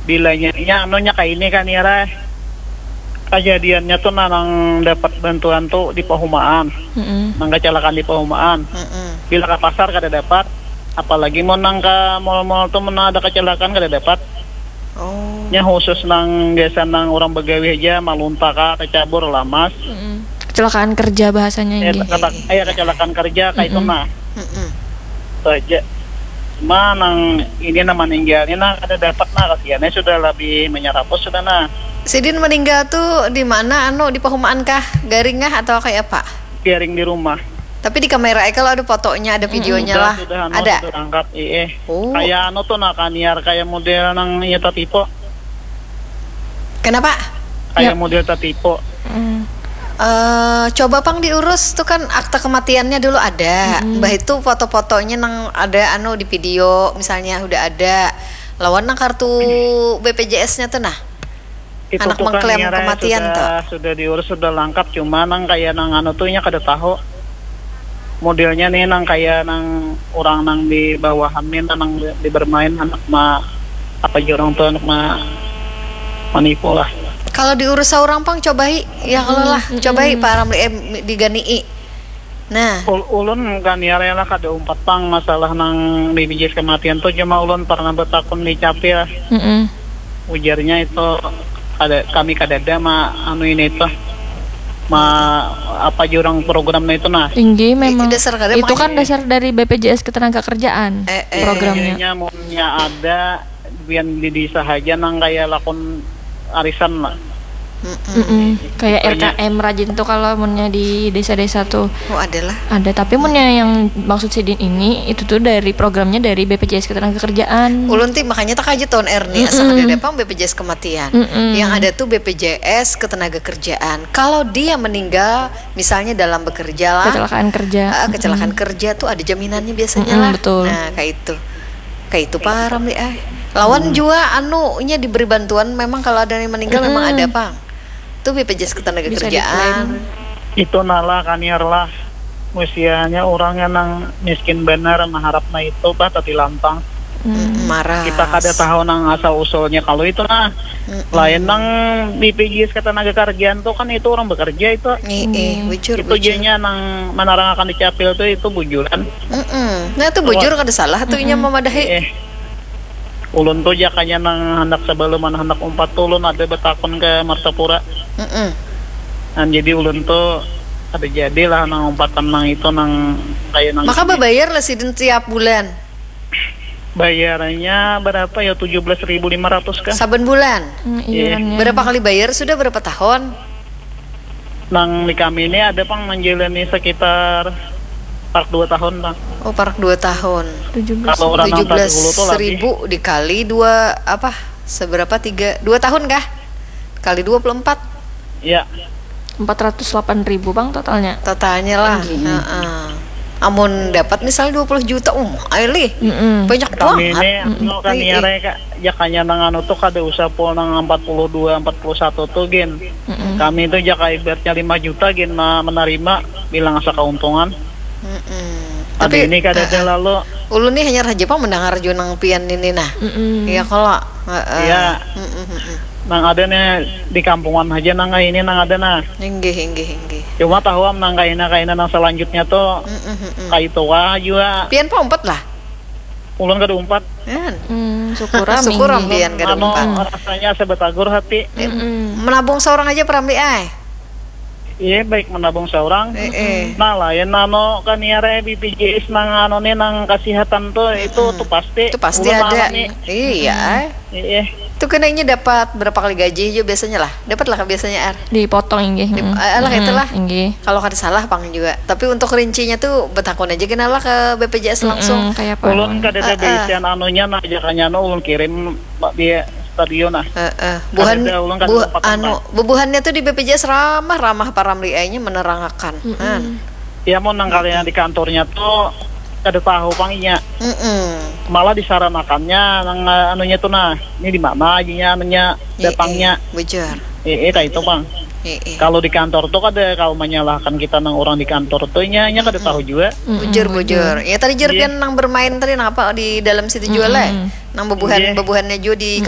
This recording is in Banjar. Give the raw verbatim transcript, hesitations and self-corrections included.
Bilanya nya anunya kaini kan ya Rai. Kajadiannya tuh nah, nang dapat bantuan tuh di Pahumaan. Mm-mm. Nang kecelakaan di Pahumaan. Mm-mm. Bila ke pasar kada dapat. Apalagi mau nang ke mall-mall tuh mana ada kecelakaan kada dapat. Oh. Nya khusus nang biasa nang orang begawi aja malunta ka kecabur lamas. Mm-mm. Kecelakaan kerja bahasanya eh, ini. Kata, eh, kecelakaan kerja kayak mm-mm. Itu nah. Mm-mm. Itu aja. Cuma nang ini nama meninggalnya nah ada dapat nah kasihannya sudah lebih menyerapus sudah nah. Sidin meninggal tuh di mana anu di Pahumaan kah? Garing kah atau kayak apa? Garing di rumah. Tapi di kamera kalau ada fotonya, ada videonya hmm, lah. Sudah, anu, ada. Sudah angkat, iya. Oh. Kayak anu tuh nah kaniar kayak model nang iya tatipo. Kenapa? Kayak ya. Model tatipo. Hmm. Uh, coba pang diurus tuh kan akta kematiannya dulu ada. Hmm. Mbah itu foto-fotonya nang ada anu di video misalnya udah ada. Lawan nang kartu B P J S-nya tuh nah. Itu anak tuh kan mengklaim kematian sudah, tuh. Sudah diurus sudah lengkap cuma nang kayak nang anu tuh nya kada tahu modelnya nih nang kayak nang orang nang di bawahan nih nang di bermain anak ma apa aja orang tuh anak ma manipu lah. Kalau diurus seorang pang cobai ya kalau lah hmm, cobai hmm. Pak Ramli eh, digani'i. Nah. Ul ulun kan ya rela kada umpat pang masalah nang B P J S kematian tuh cuma ulun pernah betakun di capil. Mm -mm. Ujarnya itu ada kami kadada ma anu ini itu ma apa jurang programnya itu nah. Tinggi memang. Dasar kada itu kan dasar dari B P J S ketenaga kerjaan eh, eh. Programnya. Iya, ada bian di desa aja nang kayak lakon arisan lah. Mm-mm. Kayak R K M rajin tuh kalau munnya di desa-desa tuh. Oh, adalah. Ada, tapi munnya yang maksud sidin ini itu tuh dari programnya dari B P J S Ketenagakerjaan. Ulun ti makanya tak aja tahun R nih, asal ada dapang B P J S kematian. Mm-mm. Yang ada tuh B P J S Ketenagakerjaan. Kalau dia meninggal misalnya dalam bekerja lah, kecelakaan kerja. Uh, kecelakaan mm-hmm. Kerja tuh ada jaminannya biasanya mm-hmm, lah. Betul. Nah, kayak itu. Kayak itu param deh ah. Lawan hmm. Jua anu nya diberi bantuan memang kalau ada yang meninggal hmm. Memang ada pang. Tuh B P J S ketenaga kerjaan. Itu nala kaniar lah. Usianya orangnya nang miskin benar mengharap na itu bah tadi lampang. Hmm. Marah. Kita kada tahu nang asal usulnya kalau itu nah. Mm-mm. Lain nang B P J S ketenaga kerjaan tuh kan itu orang bekerja itu. Iya, mm. Bujur, itu bujur. Jadinya nang menarangakan di capil tuh itu bujuran. Mm-mm. Nah, itu bujur kada salah tuh inya memadahi. Eh, ulun tuh jakanya nang hendak sebelum anak hendak umpat tuh ulun ada betakun ke Martapura. Mm-mm. Nah, jadi ulun tuh ada jadilah nang umpatan nang itu nang kayak nang. Maka bebayar lah sidin tiap bulan. Bayarannya berapa ya tujuh belas ribu lima ratus kah? Saban bulan. Mm, iya. Berapa kali bayar sudah berapa tahun? Nang di kami ini ada pang menjalani sekitar parak dua tahun bang. Oh parak dua tahun. Tujuh belas. Kalau orang tujuh belas ribu dikali dua apa? Seberapa tiga dua tahun kah? Kali dua puluh empat. Iya. Empat ratus delapan ribu bang totalnya. Totalnya lah. Heeh. Amun dapat misalnya dua puluh juta, um, ayo lih. Mm-mm. Banyak banget. Kami ini, mm-mm. Kan iya, iya. Jakanya nang anu tuh kada usah pul nang empat puluh dua, empat puluh satu tuh gin. Mm-mm. Kami tuh jaka ibaratnya lima juta gin menerima bilang asa keuntungan. Mm-mm. Tapi ini kada ada uh, lalu. Ulun nih hanya raja pang mendengar jua nang pian ini nah. Mm-mm. Iya kalau. Uh, uh. Iya. Mm-mm. Nang ada nih di kampungan aja nang ini nang ada nah. Inggih inggih inggih. Cuma tahu am nang kaina kaina nang selanjutnya tuh mm -mm. Kayak itu wah juga. Pian pang empat lah. Ulun kada umpat. Kan. Hmm, syukur am syukur am pian kada anu, umpat. Rasanya sebetagur hati. Mm -mm. Menabung seorang aja perambi ay. Iya baik menabung seorang. Eh, eh. Nah lain anu kan ya re B P J S nang anu nih nang kesehatan tuh itu mm -mm. Tuh pasti. Itu pasti ada. Iya. Mm -mm. Iya. Itu kena ini dapat berapa kali gaji aja biasanya lah. Dapat lah biasanya ar. Dipotong inggih. Dip, hmm. Alah hmm, itulah. Inggih. Kalau kada salah pang juga. Tapi untuk rincinya tuh betakun aja kena lah ke B P J S langsung. Hmm, kayak apa? Ulun kada ada uh, uh. Bisian anunya nah aja kanya anu ulun kirim di studio nah. Uh, uh. Buhan, buh, anu, bubuhannya tuh di B P J S ramah ramah paramli nya menerangakan. Hmm. Hmm. Ya mau nang kalian di kantornya tuh kada tahu pang inya. Mm-mm. Malah disaranakannya nang eh, anunya tuh nah, ini di mana ajinya anunya datangnya. Iya, bujur. Eh, eh, kayak itu bang. Iya. Kalau di kantor tuh kada kalau menyalahkan kita nang orang di kantor tuh inya inya kada tahu juga. Bujur, bujur. Ya tadi jerpian nang bermain tadi nang apa di dalam situ juga lah. Nang bebuhan bebuhannya juga di kantor.